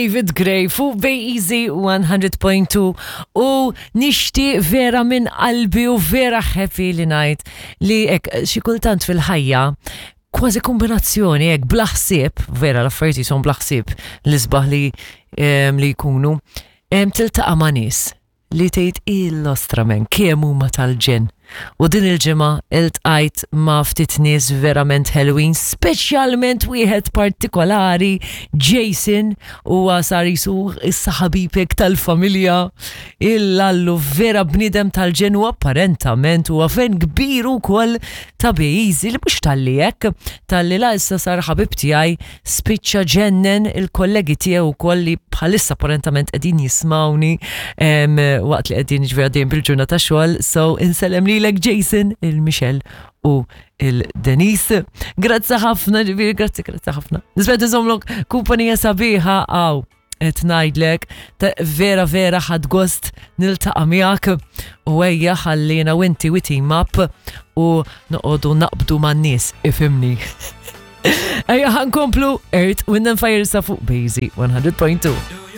David Gray fuq Bay Easy 100.2 u nixtieq vera minn qalbi u vera happy li ngħid li hekk xi kultant fil-ħajja kważi kombinazzjoni hekk bla ħsieb, vera l-affarijiet jisom bla ħsieb l-isbaħ li li jkunu, tiltaqa' ma' nies li tgħid il-ostra men kemm huma tal-ġenn. U din il-ġimgħa iltqajt ma' ftit nies verament ħelwin, speċjalment wieħed partikolari, Jason, huwa sar jisu issa ħabibek tal-familja. Il-lallu vera bniedem tal-ġenn u apparentament huwa fen kbir ukoll ta' Bejzi li mhux talli hekk, talli la issa sar ħabib tiegħi spiċċa ġennen il-kollegi tiegħu wkoll li bħalissa apparentament qegħdin jismawni waqt li qegħdin ġifieri għaddejjin bil-ġurnata xogħol, so insellem lilek Jason, il-Michelle u il-Denise. Grazzi ħafna, ġifieri grazzi, grazzi ħafna. Nisbet nżomlok kumpanija sabiħa għaw qed ngħidlek vera vera ħadd gost niltaqa' miegħek u ejja ħallina u inti we team up u noqogħdu naqbdu man-nies ifimni. Ejja ħankomplu Earth, Wind and Fire sa fuq Bazy 100.2.